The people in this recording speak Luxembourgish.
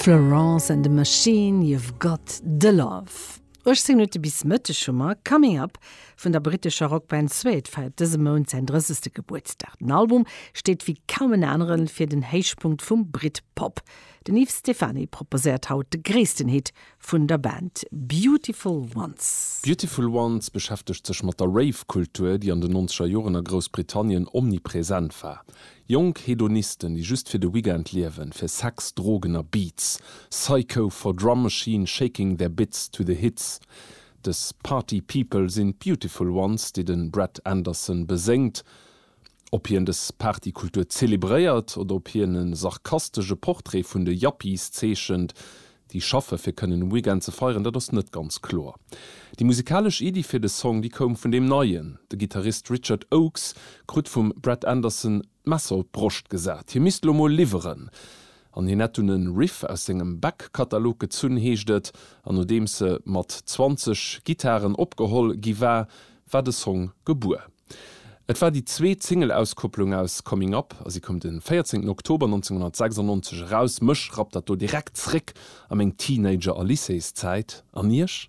Florence and the Machine, You've Got the Love. 18 Minutte bis Mëtteg hu mer. Coming Up vun der brittescher Rockband Suede feiert dëse Mount säin 30. Gebuertsdag. Den Album steet wéi kaum en aneren fir den Héichpunkt vum Britpop. Den Yves Stephany proposéiert haut de gréissten Hit vun der Band, Beautiful Ones. Beautiful Ones beschäftegt sech mat der Rave-Kultur, déi an den nonzeger Joren a Groussbritannien omnipresent war. Jonk Hedonisten, déi just fir de Weekend liewen, fir Sex, Drogen a Beats. Psycho for drum machine shaking their bits to the hits. Dës Party People sinn d'Beautiful Ones, déi de Brett Anderson beséngt. Ob hien dës Partykultur zelebréiert oder ob hien e sarkastesche Portrait vun de Yuppies zeechent, déi schaffe fir kënnen um Weekend ze feieren, dat ass net ganz kloer. Déi musikalesch Iddi fir de Song, déi koum vun deem Neien. De Gittarist Richard Oakes krut vum Brett Anderson d'Messer op d'Broscht gesat, hie misst lo mol liwweren. An hien hätt dunn e Riff aus sengem Backkatalog gezunn, heescht et. An nodeems se mat 20 Gittaren opgeholl gi war, war de Song gebuer. Et war déi zweet Single-Auskopplung aus Coming Up a si koum de 14 Oktober 1996 eraus. Mech rappt dat do direkt zréck a meng Teenager a Lycéeszäit. An iech?